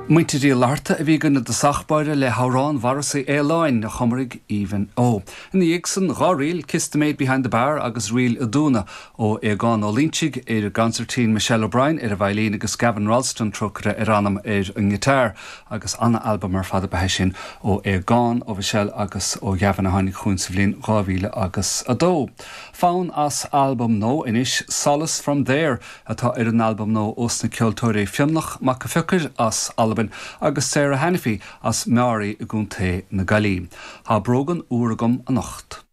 Muintir Uí Fhlatharta a bhí againn i dtosach báire le hAmhrán Mharas Uí Fhaoláin a chumraigh Aoibhinn Ó. Ina dhiaidh san, dha ríl, Kiss the Maid Behind the Bar agus Ríl a' Dúna ó Aogán Ó Loingsigh ar an gconsairtín, Michelle O'Brien ar an veidhlín agus Gavin Rolleston, trócaire ar anam, ar an ngiotár. Agus ana-albam ar fad ab ea é sin ó Aogán, ó Mhichelle agus ó Ghavin a tháinig chugainn sa bhliain 2000 agus 2. Fonn as albam nua anois, Solace From There, atá ar an albam nua ós na ceoltóirí Fionnlach Mac a' Phiocaire as Albain agus Sarah Hanniffy as Meáraí i gContae na Gaillimhe. Tá brógan úr agam anocht.